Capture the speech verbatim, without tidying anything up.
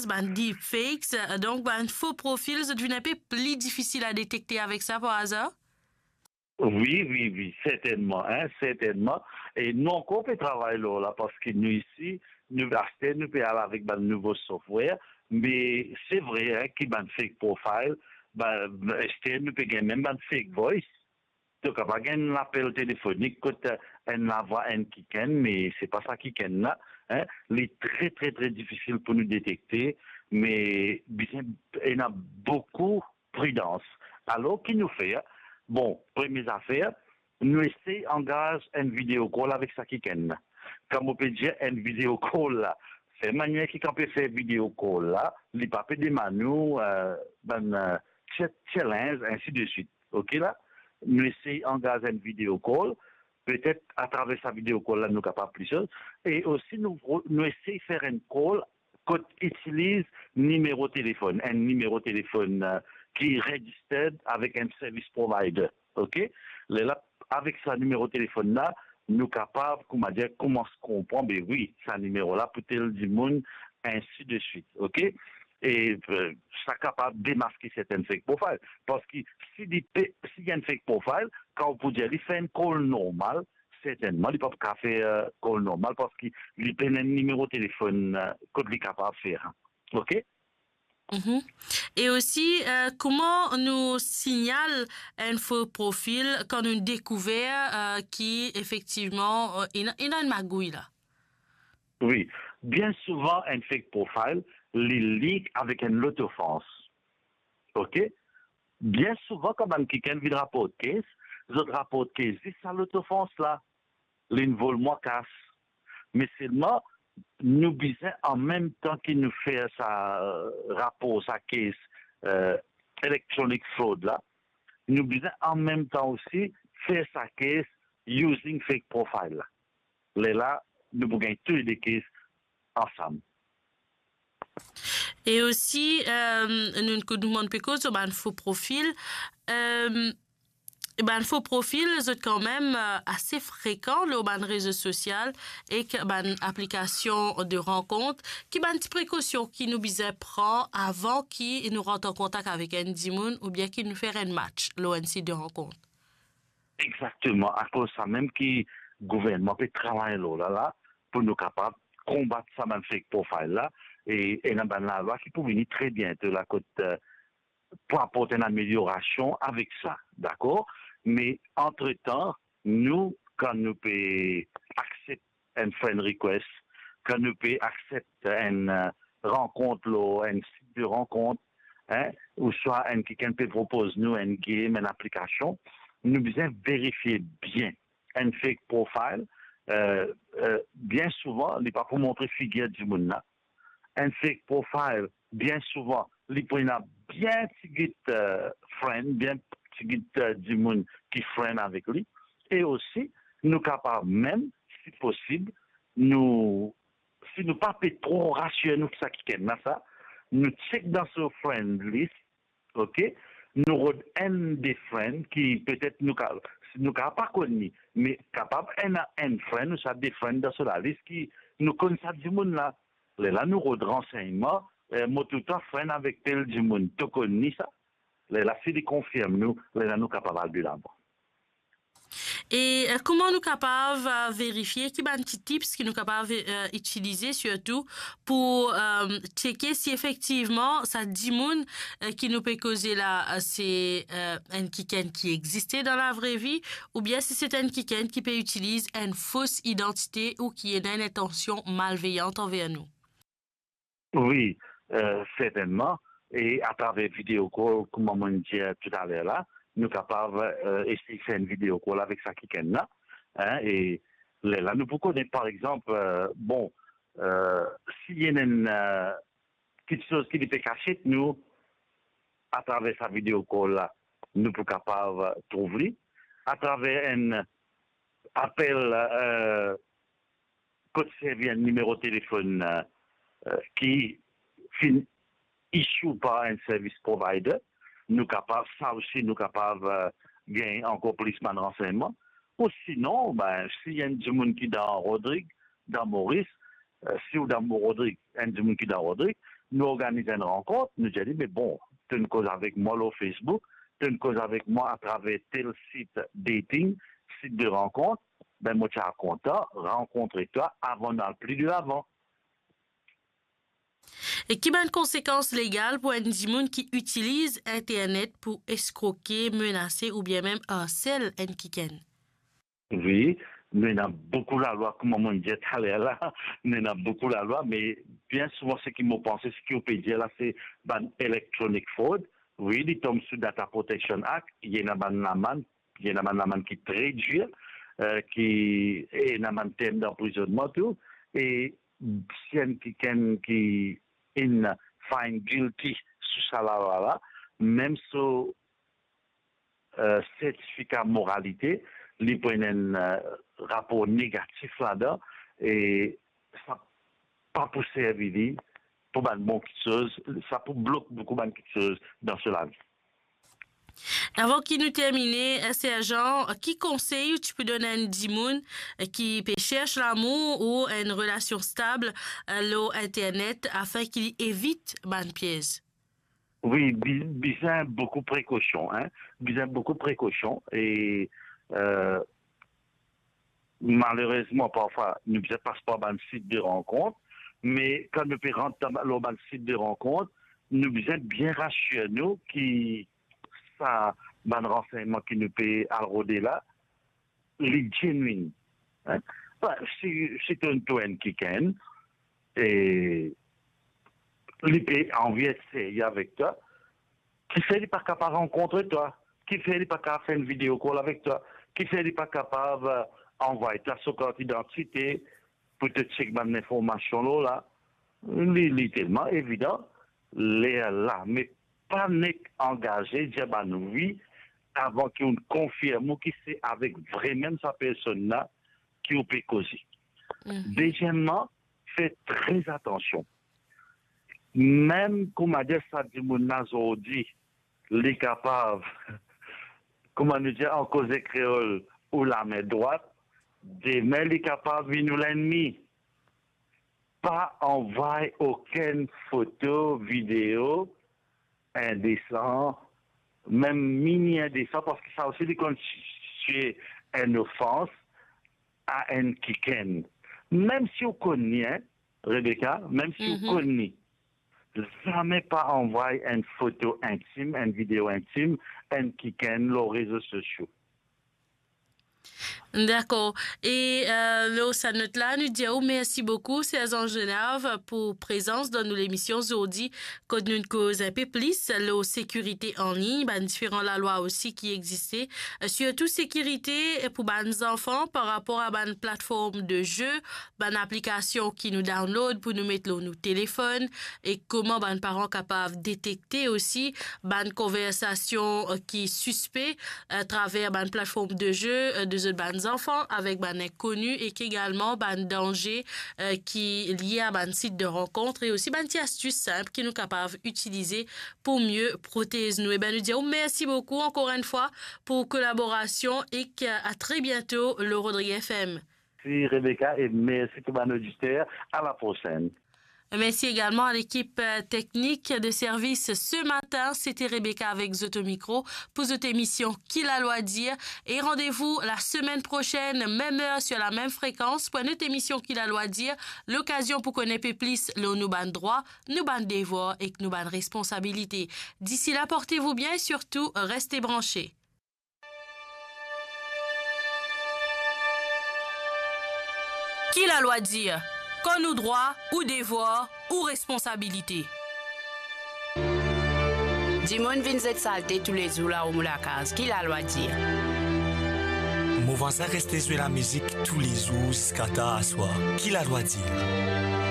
bann deepfakes, euh, donk bann fo profil, zot vinn inpe pli difisil a detekte avek sa par azar? Wi, wi, wi, sertennman, hein, sertennman. E nou ankor pe travay lor la, parski nou isi, nou, aster nou pe al avek bann nouvo software, me se vre, hein, ki bann fake profile, ba, aster nou pe gagn mem bann fake voice. To kapav gagn enn lapel telefonik kot, eh, enn lavwa enn kikenn, me se pa sa kikenn la, hein. Li tre, tre, tre difisil pou nou detekte, me bizin ena boukou pridans. Alor, ki nou fer? Bon, premie zafer, nou esey angaz enn video call avek sa kikenn la. Kan mo pe dir enn video call la, fer manier ki kan pe fer video call la, li pa pe demann ou, eh, bann, eh, cha-, challenge, ainsi de suite. Ok la? Nou esey angaz enn video call, petet atraver sa video call la, nou kapav plis soz. E osi, nou, nou esey fer enn call kot itiliz nimero telefonn, enn nimero telefonn, eh, ki registered avek enn service provider. Ok? Lerla, avek sa nimero telefonn la, nou kapav, kouma dir, koumans konpran, be wi, sa nimero la pou tel dimoun, ainsi de suite. Ok? E, eh, sa kapav demaske sertenn fake profile. Parski si li pe, si li enn fake profile, kan ou pou dir li fer enn call normal, sertennman, li pa pou kapav fer, eh, call normal, parski li pena enn nimero telefonn, eh, kot li kapav fer. Ok? Mhm. E osi, eh, kouma nou signal enn fo profil kan nou dekouver, eh, ki efektivman, eh, ena, ena enn magouy la? Wi, bien souvan enn fake profile, li link avek enn lot ofans. Ok? Bien souvan, kan bann kikenn vinn raport case, zot raport case zis sa lot ofans la, linn vol mwa kas. Me selman, nou bizin, an mem tan ki nou fer sa, eh, rapor, sa case, eh, electronic fraud la, nou bizin an mem tan osi fer sa case using fake profile la. Lerla, nou pou gagn tou le de case ansam. E osi, eh, nou, nou demann pe koz lor bann fo profil. Eh, bann fo profil, zot kanmem, eh, ase frekan lor bann rezo sosial ek bann aplikasion de rankont. Ki bann ti prekosion ki nou bizin pran avan ki nou rant an kontak avek enn dimoun oubien ki nou fer enn match lor enn sit de rankont? Exakteman, akoz sa mem ki gouvernman pe travay lor la, la, pou nou kapav konbat sa bann fake profile la, e ena bann lalwa ki pou vini tre biento la kot, eh, pou aport enn ameliorasion avek sa, dakor? Me antretan, nou, kan nou pe accept enn friend request, kan nou pe accept enn, eh, rankont lor enn sit de rankont, hein, ouswa enn kikenn pe propoz nou enn game, enn aplikasion, nou bizin verifie bien. Enn fake profile, eh, eh, bien souvan, li pa pou montre figir dimoun la. Enn fake profile, bien souvan, li pou ena bien tigit, eh, friend, bien tigit, eh, dimoun ki friend avek li. E osi, nou kapav mem, si posib, nou, si nou pa pe tro rasir nou ki sa kikenn la sa, nou check dan so friend list, ok? Nou rod enn de friend ki petet nou ka, nou ka pa konn li, me kapav ena enn friend ouswa de friend dan so lalis ki nou konn sa dimoun la. Lerla nou rod ransegnman, eh, mo toultan friend avek tel dimoun, to konn li sa? Lerla si li konfirm nou, lerla nou kapav al de lavan. E, eh, kouma nou kapav, eh, verifie, ki bann ti tips ki nou kapav, eh, itilize sirtou pou, eh, tcheke si efektivman sa dimoun, eh, ki nou pe koze la, eh, se, eh, enn kikenn ki existe dan lavre vi, oubien si se enn kikenn ki pe itiliz enn fos idantite ou ki ena enn intansion malveyan anver nou? Wi, eh, sertennman. E atraver video call, kouma mo'nn dir toutaler la, nou kapav, eh, esey fer enn video call avek sa kikenn la, hein, e lerla nou pou kone, par exanp, eh, bon, eh, si ena enn, eh, kiksoz ki li pe kasiet nou, atraver sa video call la, nou pou kapav trouv li. Atraver enn apel, eh, kot servi enn nimero telefonn, eh, eh, ki finn issue par enn service provider, nou kapav, sa osi nou kapav, eh, gagn ankor plis bann ransegnman. Ou sinon, ben, si enn dimoun ki dan Rodrig, dan Moris, eh, si ou dan Rodrig, enn dimoun ki dan Rodrig, nou organiz enn rankont, nou dir li, "Me bon, to'nn koz avek mwa lor Facebook, to'nn koz avek mwa atraver tel sit dating, sit de rankont, be mo ti a kontan rankontre twa avan nou al pli de lavan." E ki bann konsekans legal pou enn dimoun ki itiliz internet pou eskroke, menase oubien mem arsel enn kikenn? Wi, nou ena boukou lalwa, kouma mo'nn dir taler la, nou ena boukou lalwa, me bien souvan seki mo panse, seki ou pe dir la, se bann electronic fraud. Wi, li tom sou Data Protection Act, ena bann lamann, ena bann lamann ki tre dir, eh, ki, ena bann term danprizonnman tou, e si enn kikenn ki inn find guilty sou sa lalwa la, mem so eh, sertifika moralite, li pou ena enn, eh, rapor negatif ladan, e sa pa pou servi li pou bann bon kitsoz, sa pou blok boukou bann kitsoz dan so lavi. Avan ki nou termine, eh, Serjan, ki konsey ou ti pou donn enn dimoun, eh, ki pe cherch lamour ou enn relasion stab, eh, lor internet, afin ki li evit bann piez? Wi, bi-, bizin boukou prekosion, hein. Bizin boukou prekosion e, eh, malerezman, parfwa, nou bizin pas par bann sit de rankont, me kan nou pe rant dan, lor bann sit de rankont, nou bizin bien rasir nou ki sa bann ransegnman ki nou pe al rode la, li genuine. Hein? Be, si, si to, to enn kikenn, e li pe anvi et serye avek twa, kifer li pa kapav rankontre twa? Kifer li pa kapav fer enn video call avek twa? Kifer li pa kapav, eh, anvway twa so kart idantite pou to check bann linformasion lor la? Li, li telman evidan, lerla, me pa nek angaze, dir bann wi, avan ki ou konfirm ou ki se avek vremem sa personn la ki ou pe koze. Mhm. Deziemman, fer tre atansion. Mem kouma dir sa dimoun la zordi, li kapav, kouma nou dir an koze kreol, ou lame drwat, demin li kapav vinn ou lennmi. Pa anvway okenn foto, video indesan, mem mini indesan, parski sa osi li konn konstitie enn ofans a enn kikenn. Mem si ou konn li, hein, Rebecca, mem si ou Mhm. konn li, zame pa anvway enn foto intim, enn video intim, enn kikenn lor rezo sosio. Dakor. E, eh, lor sa not la, nou dir ou mersi boukou, Serjan Zenarv, pou prezans dan nou lemision zordi, kot nou'nn koz enpe plis lor sekirite an lign, bann diferan lalwa osi ki existe, eh, sirtou sekirite pou bann zanfan par rapor a bann platform de ze, bann aplikasion ki nou download pou nou met lor nou telefonn, e kouma bann paran kapav detekte osi bann konversasion, eh, ki sispe, atraver bann platform de ze, eh, de zot bann zanfan avek bann inkoni, e ki egalman bann danze, eh, ki lie a bann sit de rankont, e osi bann ti astis sinp ki nou kapav itilize pou mie protez nou. Eben, nou dir ou mersi boukou ankor enn fwa pou kolaborasion e a tre biento lor Rodrigues F M. Mersi Rebecca e mersi tou bann oditer. À la prochaine. Mersi egalman a lekip, eh, teknik de servis se matin. Sete Rebecca avek zot o mikro pou zot emision Ki Lalwa Dir. E randevou lasemenn prosenn, mem er, sir lamem frekans, pou enn lot emision Ki Lalwa Dir. Lokazion pou konn enpe plis lor nou bann drwa, nou bann devwar ek nou bann responsabilite. D'ici là, portez-vous bien et surtout, restez branchés. Ki Lalwa Dir? Konn ou drwa, ou devwar, ou responsabilite. Dimoun vinn zet salte toulezour lao mo lakaz. Ki Lalwa Dir? Mo vwazin reste zwe lamizik toulezour ziska tar aswar. Ki Lalwa Dir?